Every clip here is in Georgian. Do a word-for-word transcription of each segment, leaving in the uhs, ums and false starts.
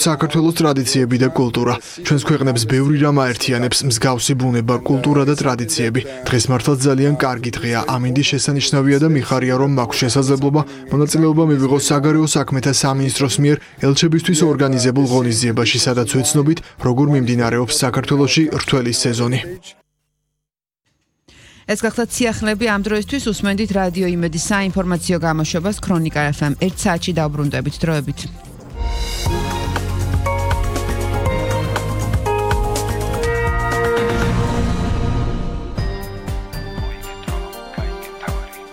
საქართველოს ტრადიციები და კულტურა. ჩვენს ქვეყნებს ბევრი რამ აერთიანებს, მსგავსი ბუნება, კულტურა და ტრადიციები. დღეს მართლაც ძალიან კარგი დღეა. ამინდი შესანიშნავია და მიხარია, რომ მაქვს შესაძლებლობა მონაწილეობა მივიღოს საგარეო საქმეთა სამინისტროს მიერ ელჩებისთვის ორგანიზებულ ღონისძიებაში, სადაც ვეცნობით, როგორ მიმდინარეობს საქართველოში რთველი სეზონი. ეს გახლავთ სიახლეები ამ დროისთვის უსმენდით რადიო იმედის საინფორმაციო გამოშვებას ქრონიკა ეფ ემ ერთ საათში დავბრუნდებით დროებით.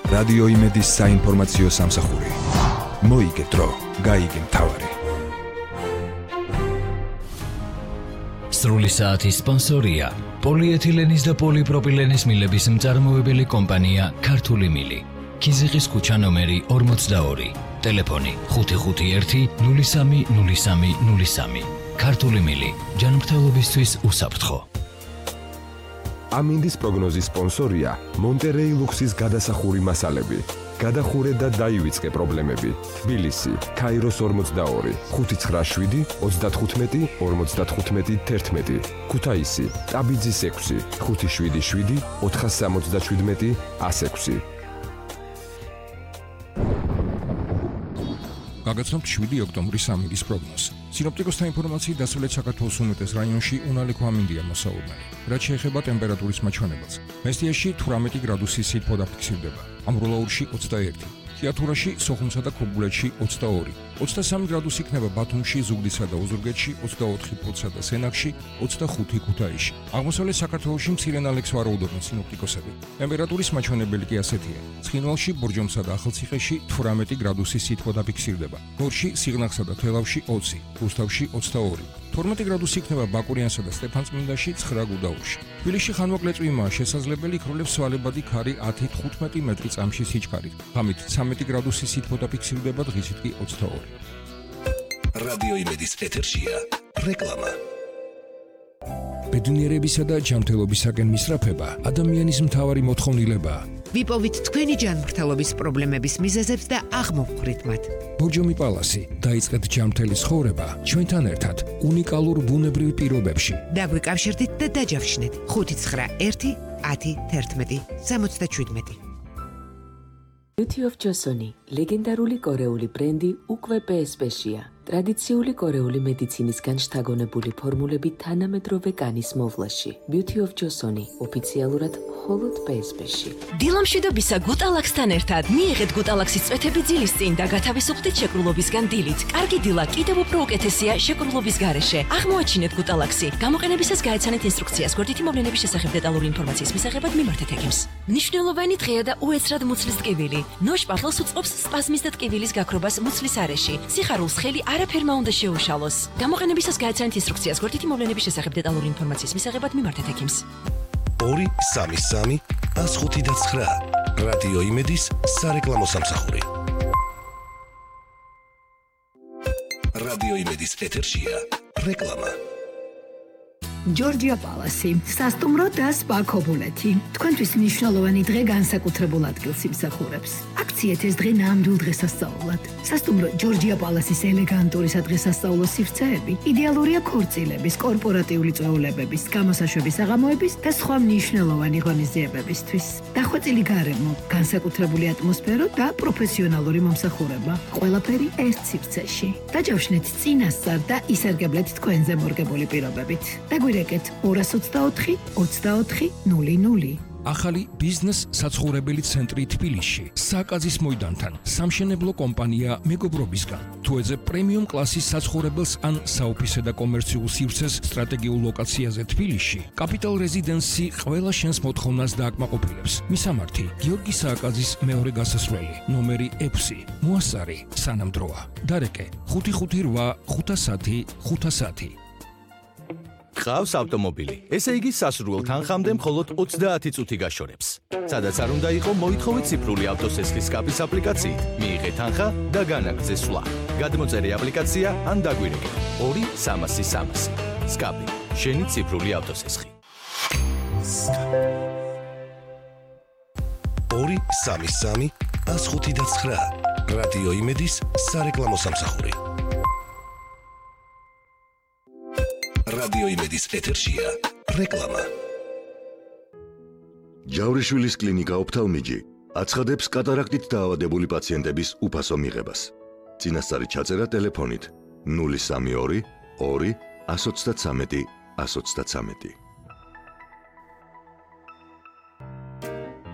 რადიო იმედის საინფორმაციო სამსახური. მოიგე დრო, გაიგე მთავარი. სრული საათის სპონსორია პოლიეთილენის და პოლიპროპილენის მილების მწარმოებელი კომპანია ქართული მილი. ქიზიყის ქუჩა ნომერი ორმოცდაორი. ტელეფონი ხუთი ხუთი ერთი ნული სამი ნული სამი ნული სამი. ქართული მილი ჯანმრთელობისთვის უსაფრთხო. ამინდის პროგნოზის სპონსორია მონტერეი ლუქსის გადასახური მასალები. გადახურე და დაივიწყე პრობლემები. თბილისი, ქაიროს ორმოცდაორი, ხუთი ცხრა შვიდი ოცდათხუთმეტი ორმოცდათხუთმეტი თერთმეტი. ქუთაისი, ტაბიძის ექვსი, ხუთი შვიდი შვიდი ოთხას სამოცდაშვიდმეტი ასექვსი. გაგაცნობთ შვიდი ოქტომბრის ამინდის პროგნოზი. სინოპტიკოსთა ინფორმაციით დასავლეთ საქართველოს უმეტეს რაიონში უნალექო ამინდია მოსაუბნელი. რაც შეეხება ტემპერატურის მაჩვენებელს, მესტიაში თვრამეტი გრადუსის სითბო დაფიქსირდება, ამბროლაურში ოცდაერთი, თიათურაში, სოხუმსა და ქობულეთში ოცდაორი, ოცდასამი გრადუსი იქნება ბათუმში, ზუგდიდსა და ოზურგეთში, ოცდაოთხი ფოთსა და სენაკში, ოცდახუთი ქუთაისში. აღმოსავლეთ საქართველოში მცირე ნალექს ვარაუდობენ სინოპტიკოსები. ტემპერატურის მაჩვენებელი კი ასეთია: ცხინვალში, ბორჯომსა და ახალციხეში თვრამეტი გრადუსის სითბო დაფიქსირდება, გორში, სიღნაღსა და თელავში ოცი, რუსთავში ოცდაორი, თორმეტი გრადუსი იქნება ბაკურიანსა და სტეფანწმინდაში, ცხრა გუდაურში. თბილისში ხანმოკლეწვიმაა შესაძლებელი, იქროლებს სვალებადი ქარი ათი თხუთმეტი მეტრი წამში სიჩქარით. ღამით ცამეტი გრადუსი სითბო დაფიქსირდება, დღისით კი ოცდაორი. რადიო იმედის ეთერშია რეკლამა. ბედნიერებისა და ჯანმრთელობისაკენ მისწრაფება ადამიანის მთავარი მოთხოვნილებაა. ვიპოვით თქვენი ჯანმრთელობის პრობლემების მიზეზებს და აღმოვხვრით მათ. ბორჯომი პალასი, დაიწყეთ ჯანმრთელი ცხოვრება ჩვენთან ერთად უნიკალურ ბუნებრივ პირობებში. დაგვიკავშირდით და დაჯავშნეთ ხუთი ცხრა ერთი ათი თერთმეტი სამოცდაშვიდმეტი. Beauty of Joseon, ლეგენდარული კორეული ბრენდი უკვე პე ეს პე-შია. ტრადიციული კორეული მედიცინისგან შთაგონებული ფორმულები თანამედროვე კანის მოვლაში. Beauty of Joseon, ოფიციალურად მხოლოდ პე ეს პე-ში. დილამშვიდობისა გუტალაქსთან ერთად მიიღეთ გუტალაქსის წვეთები ძილის წინ და გათავისუფლდით შეკრულობისგან დილით. კარგი დილა კიდევ უფრო უკეთესია შეკრულობის გარეშე. აღმოაჩინეთ გუტალაქსი. გამოყენებისას გაეცანეთ ინსტრუქციას. გვერდითი მოვლენების შესახებ დეტალური ინფორმაციის მისაღებად მიმართეთ ექიმს. მნიშვნელოვანი დღეა და უეცრად მუცლის ტკივილი. ნოშ პარლს უწყობს სპაზმის და ტკივილის გაქრობას მუცლის არეში. სიხარულს ხელი არაფერმა უნდა შეუშალოს. გამოყენებისას გაეცანეთ ინსტრუქციას. გვერდითი მოვლენების შესახებ დეტალური ინფორმაციის მისაღებად მიმართეთ ექიმს. ორი სამი სამი ას ხუთი და ცხრა. რადიო იმედის სარეკლამო სამსახური. რადიო იმედის ეთერშია რეკლამა. ჯორჯია პალასი, სასტუმრო და სპა ქობულეთი. თქვენთვის მნიშვნელოვანი დღე განსაკუთრებულ ადგილს იმსახურებს. აქციეთ ეს დღე ნამდვილ დღესასწაულად. სასტუმრო ჯორჯია პალასის ელეგანტური სადღესასწაულო სივრცეები იდეალურია ქორწილების, კორპორატიული წვეულებების, გამოსაშვების საღამოების და სხვა მნიშვნელოვანი ღონისძიებებისთვის. დახვეწილი გარემო, განსაკუთრებული ატმოსფერო და პროფესიონალური მომსახურება. ყველაფერი ერთ სივრცეში. დაჯავშნეთ წინასწარ და ისარგებლეთ თქვენზე მორგებული პირობებით. დაგვირეკეთ ორას ოცდაოთხი ოცდაოთხი ნული ნული. ახალი ბიზნეს საცხოვრებელი ცენტრი თბილისში, საკაზის მოედანთან, სამშენებლო კომპანია მეგობრობისგან. თუ ეძებ პრემიუმ კლასის საცხოვრებელს ან საოფისე და კომერციულ სივრცეს სტრატეგიულ ლოკაციაზე თბილისში, კაპიტალ რეზიდენსი ყველა შენს მოთხოვნას დააკმაყოფილებს. მისამართი: გიორგი სააკაძის მეორე გასასვლელი, ნომერი ექვსი, მოასარი, სანამდროა. დარეკე: ხუთი ხუთი რვა ხუთასათი ხუთასათი. ყავს ავტომობილი. ესე იგი სასურველ თანხამდე მხოლოდ ოცდაათი წუთი გაშორებს. სადაც არ უნდა იყო, მოითხოვეთ ციფრული ავტოსესხლის სკაპის აპლიკაციით. მიიღეთ თანხა და განაგრძე სვლა. გადმოწერე აპლიკაცია ან დაგვირეკე ორი სამასი სამასი. სკაპი, შენი ციფრული ავტოსესხი. ორი სამი სამი ას ხუთი და ცხრა. რადიო იმედის სარეკლამო სამსახური. რადიო იმედის ეთერშია რეკლამა. ჯავრიშვილის კლინიკა ოფთალმიჯი აცხადებს კატარაქტით დაავადებული პაციენტების უფასო მიღებას. წინასწარი ჩაწერა ტელეფონით ნული სამი ორი ორი ათს ოცდათრამეტი ათს ოცდათრამეტი.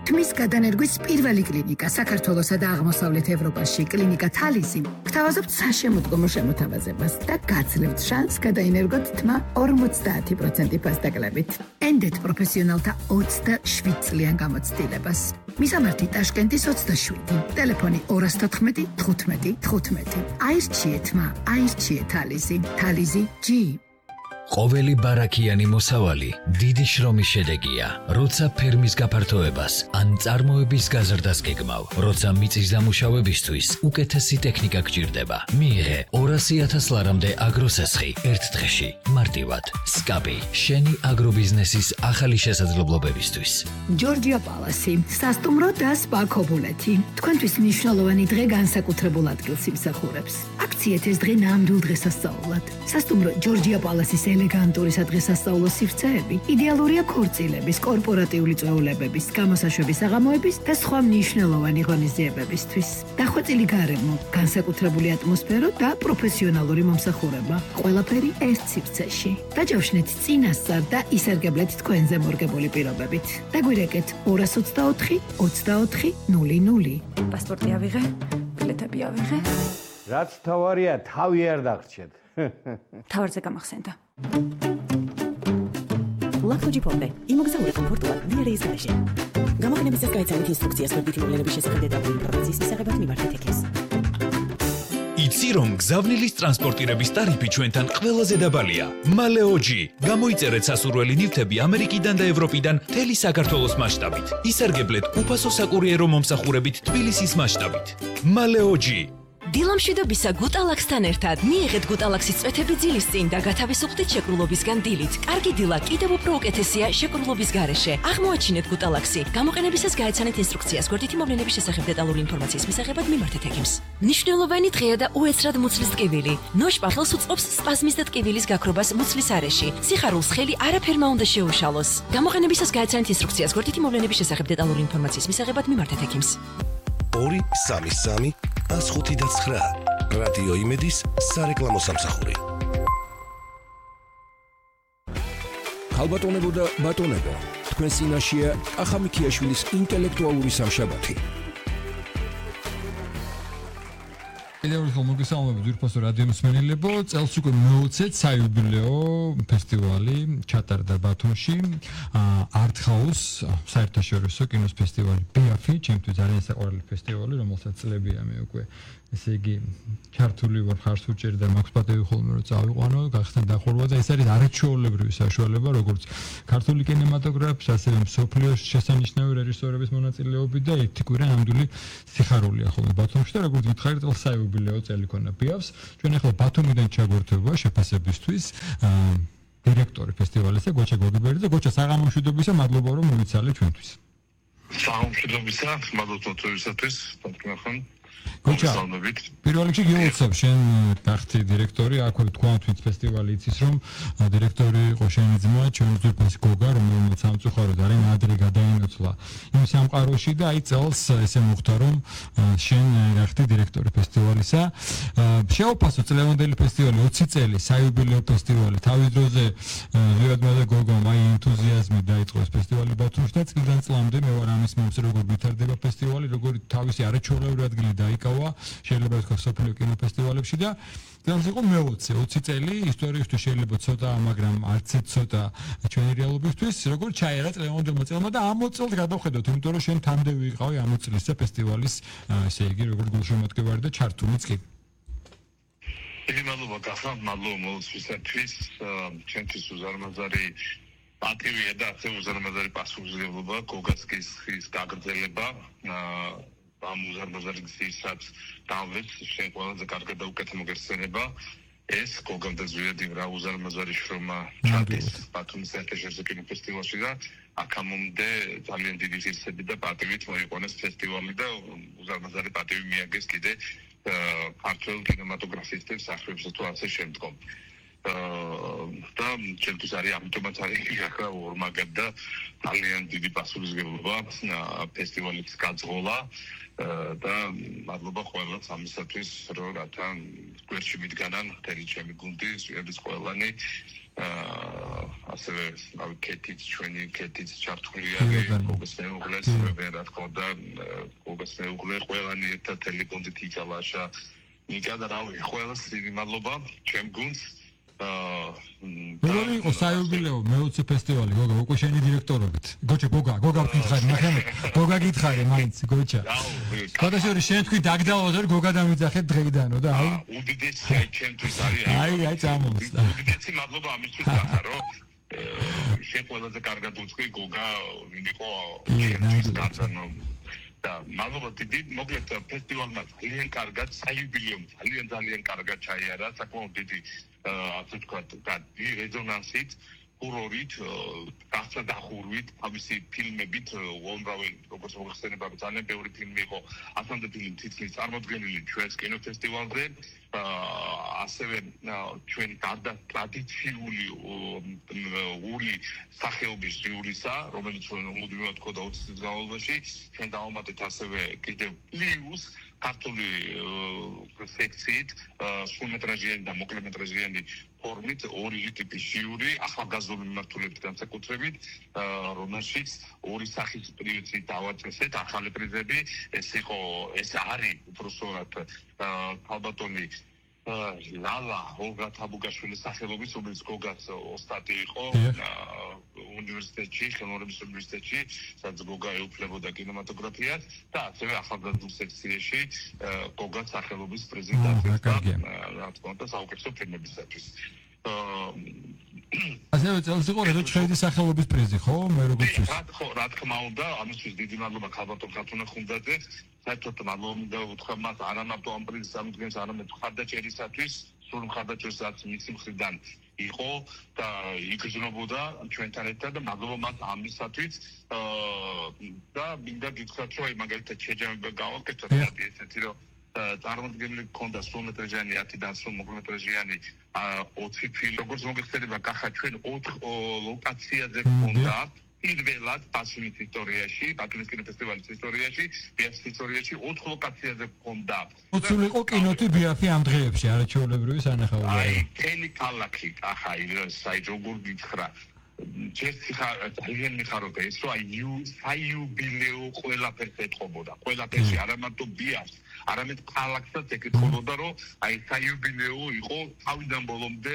თმის გადანერგვის პირველი კლინიკა საქართველოსა და აღმოსავლეთ ევროპაში კლინიკა თალისი გთავაზობთ საშემოდგომო შემოთავაზებას და გაძლევთ შანსს გადაინერგოთ თმა ორმოცდაათი პროცენტი ფასდაკლებით. ენდეთ პროფესიონალთა ოცდაშვიდ წლიან გამოცდილებას. მისამართი ტაშკენტის ოცდაშვიდი, ტელეფონი ორას თოთხმეტი თხუთმეტი თხუთმეტი. აირჩიე თმა, აირჩიე თალისი, თალისი ჯი. ყოველი ბარაქიანი მოსავალი დიდი შრომის შედეგია, როცა ფერმის გაფართოებას ან წარმოების გაზრდას გეგმავ, როცა მიწის დამუშავებისთვის უკეთესი ტექნიკა გჭირდება. მიიღე ორასი ათას ლარამდე აგროსესხი ერთ დღეში, მარტივად. სკაპი, შენი აგრობიზნესის ახალი შესაძლებლობებისთვის. ჯორჯია პალასი, სასტუმრო და სპა ქობულეთი. თქვენთვის მნიშვნელოვანი დღე განსაკუთრებულ ადგილს იმსახურებს. აქციეთ ეს დღე ნამდვილ დღესასწაულად. სასტუმრო ჯორჯია პალასის ელეგანტური სადღესასწაულო სივრცეები იდეალურია ქორწილების, კორპორატიული წვეულებების, გამოსაშვების საღამოების და სხვა მნიშვნელოვანი ღონისძიებებისთვის. დახვეწილი გარემო, განსაკუთრებული ატმოსფერო და პროფესიონალური მომსახურება. ყველაფერი ერთ სივრცეში. დაჯავშნეთ წინასწარ და ისარგებლეთ თქვენზე მორგებული პირობებით. დაგვირეკეთ ორას ოცდაოთხი ოცდაოთხი ნული ნული. პასპორტი ავიღე, ბილეთები ავიღე. რაც თავარია, თავი არ დაგრჩეთ. თავარზე გამახსენდა. ლაქტოჯიპონდე იმოგზაურე კომფორტულად ვიარეის გარეშე. გამოყენებისას გაიცანით ინსტრუქციას გვერდითი მოვლენების შესახებ დეტალური ინფორმაციის მისაღებად მიმართეთ ეკეს. იცი რომ გზავნილის ტრანსპორტირების ტარიფი ჩვენთან ყველაზე დაბალია. მალეოჯი. გამოიწერეთ სასურველი ნივთები ამერიკიდან და ევროპიდან მთელი საქართველოს მასშტაბით. ისარგებლეთ უფასო საკურიერო მომსახურებით თბილისის მასშტაბით. მალეოჯი. დილამშვიდობისა გუტალაქსთან ერთად მიიღეთ გუტალაქსის წვეთები ძილის წინ და გათავისუფლდით შეკრულობისგან დილით. კარგი დილა კიდევ უფრო უკეთესია შეკრულობის გარეშე. აღმოაჩინეთ გუტალაქსი. გამოყენებისას გაეცანეთ ინსტრუქციას გვერდითი მოვლენების შესახებ დეტალური ინფორმაციის მისაღებად მიმართეთ ეკიმს. მნიშვნელოვანი დღეა და უეცრად მუცლის ტკივილი. ნოშპახელს უწყობს სპაზმის და ტკივილის გაქრობას მუცლის არეში. სიხარულს ხელი არაფერმა უნდა შეუშალოს. გამოყენებისას გაეცანეთ ინსტრუქციას გვერდითი მოვლენების შესახებ დეტალური ინფორმაციის მისაღებად მიმართეთ ეკიმს. ორი სამი სამი ათს ხუთი და ცხრა. რადიო იმედის სარეკლამო სამსახური. ხალბატონებო და ბატონებო, თქვენ წინაშეა კახა მიქიაშვილის ინტელექტუალური სამშაბათი. ელეური ხომოგესალმები ძვირფასო რადიო მსმენელებო, წელს უკვე მეოცე საიუბილეო ფესტივალი ჩატარდა ბათუმში, არტ-ჰაუს საერთაშორისო კინოს ფესტივალი ბიაფი, ჩემთვის ძალიან საყვარელი ფესტივალი, რომელსაც წლებია მე უკვე ესე იგი ქართული ვარ ხარს უჭერ და მაქვს პატივი ხოლმე რომ წავიყვანო, გახსნა დახურვა და ეს არის არაჩვეულებრივი საშუალება, როგორც ქართული კინემატოგრაფის, ასევე მსოფლიოს შესანიშნავი რეჟისორების მონაწილეობით და ერთი კვირა ნამდვილი სიხარულია ხოლმე ბათუმში და როგორც გითხარით, წელს საიუბილეო წელი ქონა ბიაფს. ჩვენ ახლა ბათუმიდან ჩაგვერთვება შეფასებისთვის დირექტორი ფესტივალისა გოჩა გოგიბერი და გოჩა საღამომშვიდობისა, მადლობა რომ მოიცალე ჩვენთვის. საღამომშვიდობისა, მადლობა თქვენთვისაც, თქვენ გოჩა, პირველ რიგში გიოცებ შენ გახდი დირექტორი, აქვე თქვენ თვით ფესტივალი იცის რომ დირექტორი იყო შენი ძმა, ჩვენი ძვირფასი გოგა, რომელმაც სამწუხაროდ არის ადრე გადაინოცვლა იმ სამყაროში და აი წელს ესე მოხდა რომ შენ გახდი დირექტორი ფესტივალისა. შეუფასო წლევანდელი ფესტივალი ოცი წელი, საიუბილეო ფესტივალი, თავის დროზე ზურაბმა და გოგომ აი ენთუზიაზმი დაიწყო ეს ფესტივალი ბათუმში და წლიდან წლამდე მე ვარ ამის მომსწრე, როგორ ვითარდება ფესტივალი, როგორ თავისი არაჩვეულებრივი ადგილი დაიკავა, შეიძლება ვთქვა სოფლიო კინოფესტივალებში და წელს იყო მეოცე, ოცი წელი, ისტორიისთვის შეიძლება ცოტა, მაგრამ არც ერთ ცოტა ჩვენი რეალობისთვის, როგორ ჩაერა წლევანდელმა წელმა და ამ წელს გადავხედოთ, იმიტომ რომ შენ თანდევი იყავი ამ წელისა ფესტივალის, ესე იგი, როგორ გულშემატკივარი და ჩართულიც კი. დიდი მადლობა გახსნა, მადლობა მოუწვისათვის, ჩვენთვის უზარმაზარი პატივია და ასე უზარმაზარი პასუხისმგებლობა, გოგაცკის ხის გაგრძელება. ამ უზარმაზარი გზისაც დავეთ, შენ ყველაზე კარგად და უკეთ მოგეხსენება. ეს გოგამ და ზვიადი რა უზარმაზარი შრომა ჩადის ბათუმის საერთაშორისო კინოფესტივალში და აქამდე ძალიან დიდი ღირსები და პატივით მოიყვანეს ფესტივალი და უზარმაზარი პატივი მიაგეს კიდე ქართულ კინემატოგრაფისტებს, ახლებსა თუ ასე შემდგომ. და ჩემთვის არის ამიტომაც არის ახლა ორმაგად და ძალიან დიდი პასუხისმგებლობა ფესტივალის გაძღოლა და მადლობა ყველას ამისათვის რომ რათა გვერდში მიდგანან მთელი ჩემი გუნდი სვიების ყველანი ასევე რავი კეთიც ჩვენი კეთიც ჩართულია გოგოს მეუღლეს რა თქმა უნდა გოგოს მეუღლე ყველანი ერთად მთელი გუნდით იკალაშა ნიკა და რავი ყველას დიდი მადლობა ჩემ გუნდს როგორი იყო საიუბილეო მეოცე ფესტივალი გოგა უკვე შენი დირექტორობით გოჩა გოგა გოგა გითხარი მაგრამ გოგა გითხარი მაინც გოჩა გადაშორი შენ თქვი დაგდავოთ რომ გოგა დამიძახეთ დღეიდანო და აი უდიდესი აი ჩემთვის არის აი აი წამოსდა უდიდესი მადლობა ამისთვის გახარ რომ შენ ყველაზე კარგად უცხი გოგა ვინ იყო ჩემთვის გაწანო და მადლობა დიდი მოკლედ ფესტივალმა ძალიან კარგად საიუბილეო ძალიან ძალიან კარგად ჩაიარა საკმაოდ დიდი ასე ვთქვათ დიდი რეზონანსით ჰურორით გასა დახურვით თავისი ფილმებით უამრავი როგორც მოხსენება ძალიან ბევრი ფილმი იყო ასამდე ფილმი თითქმის წარმოდგენილი ჩვენს კინოფესტივალზე ასევე ჩვენი გარდა ტრადიციული ური სახეობის ჟიურისა რომელიც მუდმივად თქო და ოცი წლის განმავლობაში ჩვენ დავამატეთ ასევე კიდევ პლუს ქართული სექციით სრულმეტრაჟიანი და მოკლემეტრაჟიანი ფორმით ორი ტიპის ჟიური ახალგაზრდული მიმართულებით განსაკუთრებით რომელშიც ორი სახის პრიზი დავაწესეთ ახალი პრიზები ეს იყო ეს არის უბრალოდ ალბათონი ლალა ოლგა თაბუგაშვილის სახელობის რომელიც გოგაც ოსტატი იყო უნივერსიტეტში ხელოვნების უნივერსიტეტში სადაც გოგა ეუფლებოდა კინემატოგრაფიას და ასევე ახალგაზრდულ სექციაში გოგაც სახელობის პრიზი დაწესდა რა თქმა უნდა საუკეთესო ფილმებისათვის ასევე წელს იყო რედო ჩხეიძის სახელობის პრიზი ხო მე როგორც ვიცი ხო რა თქმა უნდა ამისთვის დიდი მადლობა ქალბატონ ხათუნა ხუნდაძე საერთოდ მადლობა უთხრა მას არამარტო ამ პრიზის ამდგენს არამედ მხარდაჭერისათვის სულ მხარდაჭერისაც მისი მხრიდან იყო და იგრძნობოდა ჩვენთან ერთად და მადლობა მას ამისათვის და მინდა გითხრათ რომ აი მაგალითად შეჯამება გავაკეთოთ ესეთი რომ წარმოდგენილი ქონდა სრულმეტრაჟიანი ათიდან სულ მოკლემეტრაჟიანი ოცი ფილმი როგორც მოგეხსენება კახა ჩვენ ოთხ ლოკაციაზე ქონდა პირველად პასუნის ისტორიაში პასუნის კინოფესტივალის ისტორიაში ბიაფის ისტორიაში ოთხ ლოკაციაზე ქონდა უცული იყო კინოთი ბიაფი ამ დღეებში არაჩვეულებრივი სანახაობაა აი თელი ქალაქი კახა ის აი როგორ გითხრა ჯერცი ხარ ძალიან მიხარობდა ეს რომ აი საიუბილეო ყველაფერს ეთყობოდა ყველაფერში არამარტო ბიაფს არამედ ქალაქსაც ეკითხებოდა რომ აი საიუბილეო იყო თავიდან ბოლომდე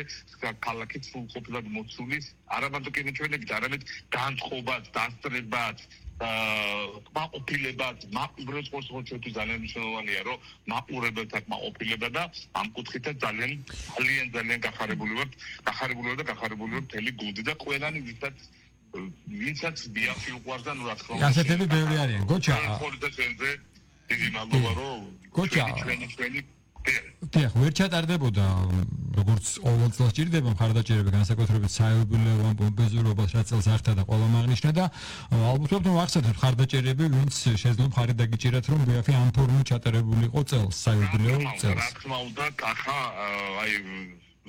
ქალაქი სრულყოფილად მოცული არამარტო კინოჩვენებით არამედ განწყობაც დასწრებაც მაყურებელად მაყურებელს ყოველთვის ძალიან მნიშვნელოვანია რომ მაყურებელთან მაყურებელად და ამ კუთხით ძალიან ძალიან ძალიან გახარებული ვართ გახარებული ვარ და გახარებული ვარ მთელი გუნდი და ყველანი ვისაც ვინცაც ბიაფი უყვარს და ნუ რა თქმა უნდა ასეთები ბევრი არიან გოჩა დიდი მადლობა რომ გოჩა ჩვენი ჩვენი დიახ ვერ ჩატარდებოდა როგორც ყოველ წელს ჭირდება მხარდაჭერები განსაკუთრებით საიუბილეო ან პომპეზურობას რაც წელს ართა და ყველა მაგნიშნა და ალბათ რომ ახსენეთ მხარდაჭერები ვინც შეიძლება მხარი დაგიჭირათ რომ ბიაფი ამ ფორმით ჩატარებულიყო წელს საიუბილეო წელს რა თქმა უნდა კახა აი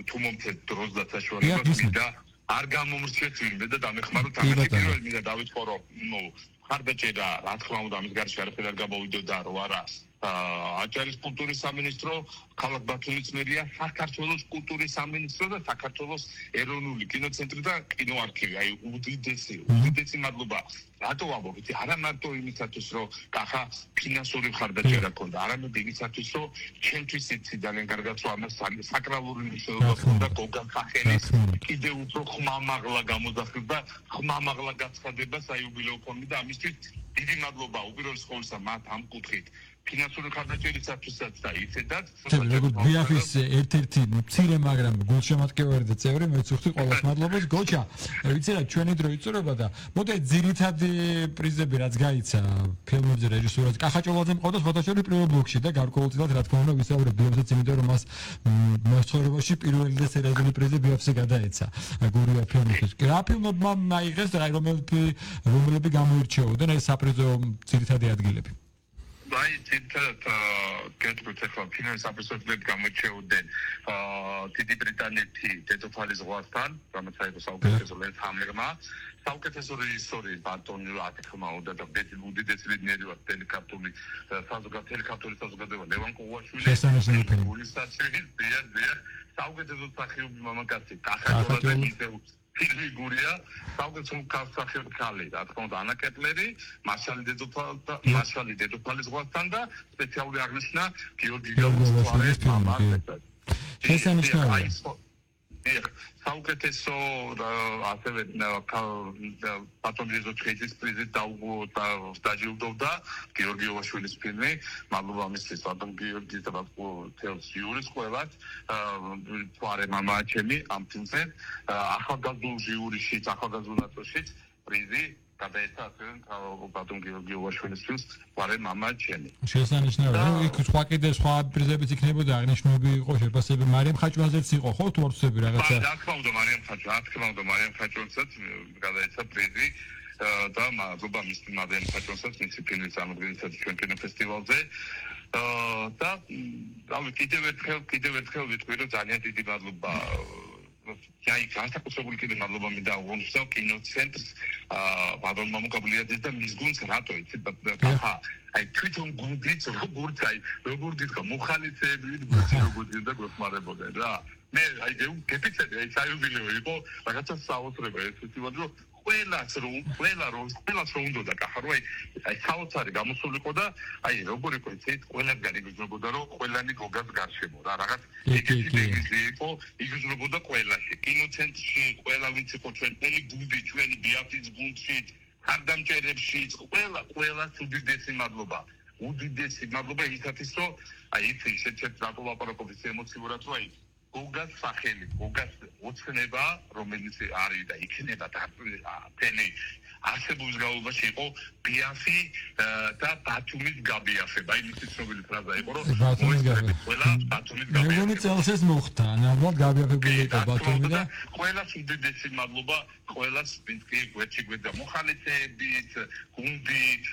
თუ მომწეთ დროს და საშუალებას და არ გამომრჩეთ ვინმე და დამეხმაროთ ამით პირველ მინდა დავიწყო რომ ნუ მხარდაჭერა რა თქმა უნდა ამის გარშე არაფერ არ გამოვიდოდა რომ არა აჭარის კულტურის სამინისტრო ქალაქ ბათუმის მერია საქართველოს კულტურის სამინისტრო და საქართველოს ეროვნული კინოცენტრი და კინოარქივი აი უდიდესი უდიდესი მადლობა რატო ვამბობ იცი არა მარტო იმისათვის რომ კახა ფინანსური მხარდაჭერა ქონდა არამედ იმისათვის რომ ჩემთვის იცი ძალიან კარგად რომ ამას საკრალური მნიშვნელობა ქონდა გოგა ხახელის კიდევ უფრო ხმამაღლა გამოძახილდა ხმამაღლა გაცხადება საიუბილეო ფონდი და ამისთვის დიდი მადლობა უპირველეს ყოვლისა მათ ამ კუთხით ფინანსური მხარდაჭერისათვისაც და ისედაც როგორც ბიაფის ერთ-ერთი მცირე მაგრამ გულშემატკივარი და წევრი მეც ვხვდი ყველას მადლობას გოჩა ვიცი რა ჩვენი დრო იწურება და მოდი ძირითადი პრიზები რაც გაიცა ფილმებზე რეჟისურად კახაჭოლაძემ ყავდა ფოტოშოპი პირველ ბლოკში და გარკვეულწილად რა თქმა უნდა ვისაუბრებ ბიაფსაც იმიტომ რომ მას მოსწორებაში პირველი და სერიოზული პრიზი ბიაფზე გადაეცა გურია ფილმისთვის რა ფილმებმა მაიღეს და რომელები რომელები გამოირჩეოდნენ ეს საპრიზო ძირითადი ადგილები აი თითქოს კეთილ ახლა ფინანსის აპრესორები გამოჩეოდნენ დიდი ბრიტანეთი დედოფალი ზღვასთან, რომელიც აიყო საუკეთესო ლენთჰამერმა. საუკეთესო რეჟისორი ბატონი ათქმა უნდა და უდიდესი ბედნიერი ვარ ტელეკარტული საზოგადოება ტელეკარტული საზოგადოება ლევან კოუაშვილი გულისაჩივი დიახ დიახ საუკეთესო მსახიობი მამაკაცი კახაჯორაძე მისეულ ფიგურია საუკეთესო მსახიობი ქალი რა თქმა უნდა ანა კეტლერი მარშალი დედოფალი და მარშალი დედოფალის ზღვასთან და სპეციალური აღნიშვნა გიორგი გაბუსტვარის მამა შესანიშნავია საუკეთესო ასევე ბატონი ზოჩხეთის პრიზით დაჯილდოვდა გიორგი ოვაშვილის ფილმი მადლობა მისთვის ბატონ გიორგის და თელს ჟიურის ყველას თვარე მამაა ჩემი ამ ფილმზე ახალგაზრდულ ჟიურიშიც ახალგაზრდულ ნაწილშიც პრიზი გადაეცა ბატონ გიორგი ოვაშვილის ფილმს თვარე მამაა ჩემი შესანიშნავია რომ იქ სხვა კიდე სხვა პრიზებიც იქნებოდა აღნიშნული იყო შეფასება მარიამ ხაჭვაძეც იყო ხო თუ არცები რაღაცა რა თქმა უნდა მარიამ ხაჭვა რა თქმა უნდა მარიამ ხაჭვაძეც გადაეცა პრიზი და მადლობა მის მარიამ ხაჭვაძეც მისი ფილმის ამოგვიწერეთ ჩვენ კინოფესტივალზე და რავი კიდევ ერთხელ კიდევ ერთხელ ვიტყვი რომ ძალიან დიდი მადლობა აი განსაკუთრებული კიდე მადლობა მინდა აღნიშნო კინოცენტრს ბატონ მამუკაბლიაძეს და მის გუნდს რატო იცი ხა აი თვითონ გუნდიც როგორც აი როგორ დიდხა მოხალისეები როგორც და გვეხმარებოდა რა მე აი გეპიცები აი საიუბილეო იყო რაღაცა საოცრება ეს ფესტივალი რომ ყველას რომ ყველა რომ ყველას რომ უნდა კახარო აი აი საოცარი გამოსულიყო და აი როგორ იყო იცით ყველა გარიგზნებოდა რომ ყველანი გოგას გარშემო რა რაღაც ეგეთი იყო იგზნებოდა ყველაში კინოცენტრში ყველა ვინც იყო ჩვენ მთელი გუნდი ჩვენი ბიაფის გუნდში ხარდამჭერებში ყველა ყველას უდიდესი მადლობა უდიდესი მადლობა ისათვის რომ აი იცი შეჩერთ რატო ლაპარაკობთ ემოციურად რომ აი გოგას სახელი გოგას ოცნება რომელიც არის და იქნება და თელი არსებობის განმავლობაში იყო ბიაფი და ბათუმის გაბიაფება აი მისი ცნობილი ფრაზა იყო რომ მოიწევს ყველა ბათუმის გაბიაფება მეგონი წელს ეს მოხდა ნამდვილად გაბიაფებული იყო ბათუმი და ყველას უდიდესი მადლობა ყველას ვინც კი გვერდში გვერდა მოხალისეებით გუნდით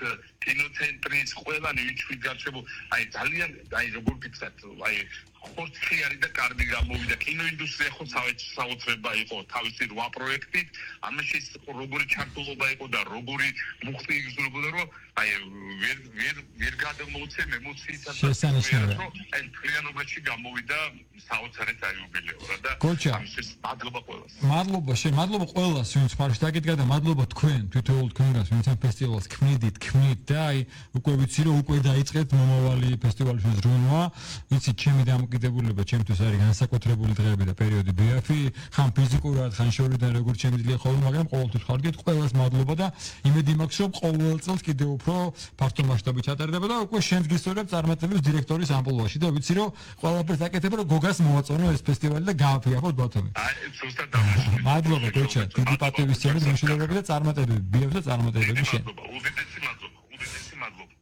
კინოცენტრის ყველანი ვინც ვიგარჩებო აი ძალიან აი როგორ გიცათ აი ხორცი არის და კარგი გამოვიდა კინოინდუსტრია ხო საოცრება იყო თავისი რვა პროექტით ამაში როგორი ჩართულობა იყო და როგორი მუხტი იგრძნობოდა რომ აი ვერ ვერ ვერ გადმოუცემ ემოციითა შესანიშნავია აი თლიანობაში გამოვიდა საოცარი საიუბილეო რა და ამის მადლობა ყველას მადლობა შენ მადლობა ყველას ვინც ხარში დაგიდგა და მადლობა თქვენ თვითოულ თქვენგანს ვინც ამ ფესტივალს ქმნიდით ქმნით და აი უკვე ვიცი რომ უკვე დაიწყეთ მომავალი ფესტივალის ზრუნვა ვიცი ჩემი დამოკიდებულება ჩემთვის არის განსაკუთრებული დღეები და პერიოდი ბიაფი ხან ფიზიკურად ხან შორიდან როგორც შემიძლია ხოლმე მაგრამ ყოველთვის ხარგეთ ყველას მადლობა და იმედი მაქვს რომ ყოველ წელს კიდევ უფრო ფართო მასშტაბით ჩატარდება და უკვე შენს გისურვებ წარმატების დირექტორის ამპლუაში და ვიცი რომ ყველაფერს აკეთებ რომ გოგას მოვაწონო ეს ფესტივალი და გააფიახოთ ბათუმი აი ზუსტად დამშვიდობ მადლობა გოჩა დიდი პატივისცემის მშვიდობები და წარმატებები ბიაფს და წარმატებები შენ უდიდესი მადლობა უდიდესი მადლობა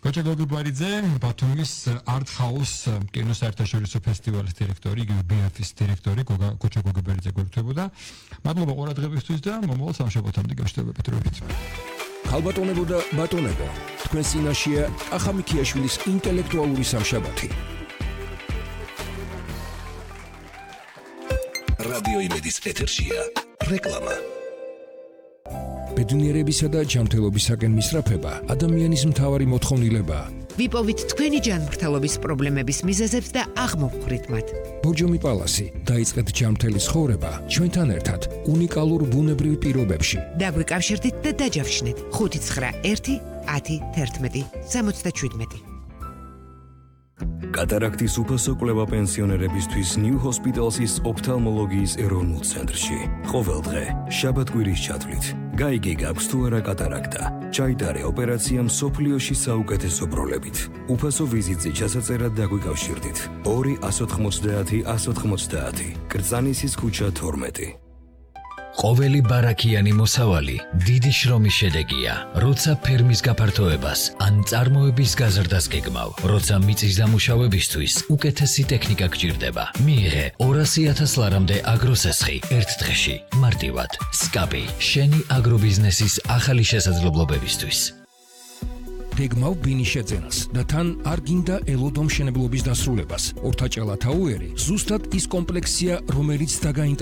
გოჩა გოგიბარიძე ბათუმის art house კინოს საერთაშორისო ფესტივალის დირექტორი იგივე ბიაფის დირექტორი გოჩა გოგიბარიძე გვერდთვებოდა მადლობა ყურადღებისთვის და მომავალ სამშაბათამდე გაშთობებით როით ხალბატონებო და ბატონებო თქვენ წინაშეა ახამიქიაშვილის ინტელექტუალური სამშაბათი რადიო იმედის ეთერშია რეკლამა ბედნიერებისა და ჯანმრთელობისაკენ მისწრაფება ადამიანის მთავარი მოთხოვნილებაა. ვიპოვით თქვენი ჯანმრთელობის პრობლემების მიზეზებს და აღმოვხვრით მათ. ბორჯომი პალასი დაიწყეთ ჯანმრთელი ცხოვრება ჩვენთან ერთად უნიკალურ ბუნებრივ პირობებში. დაგვიკავშირდით და დაჯავშნეთ ხუთი ცხრა ერთი ათი თერთმეტი სამოცდაშვიდმეტი. კატარაქტის უფასო კვლევა პენსიონერებისთვის New Hospital's ოფთალმოლოგიის ეროვნულ ცენტრში. ყოველ დღე შაბათ-კვირის ჩათვლით გაიგე გაქვს თუ არა კატარაქტა. ჩაიტარე ოპერაცია მსოფლიოში საუკეთესო ბროლებით. უფასო ვიზიტზე ჩასაწერად დაგვიკავშირდით. ორი ათი ოცდაათი ათი ოცდაათი კრწანისის ქუჩა თორმეტი. ყოველი ბარაქიანი მოსავალი დიდი შრომის შედეგია, როცა ფერმის გაფართოებას ან წარმოების გაზრდას გეგმავ, როცა მიწის დამუშავებისთვის უკეთესი ტექნიკა გჭირდება. მიიღე ორასი ათას ლარამდე აგროსესხი ერთ დღეში, მარტივად. სკაპი, შენი აგრობიზნესის ახალი შესაძლებლობებისთვის. გეგმავ ბინის შეძენას და თან არ გინდა ელოდო მშენებლობის დასრულებას. ორთაჭალა თაუერი ზუსტად ის კომპლექსია, რომელიც დაგაინტერესებს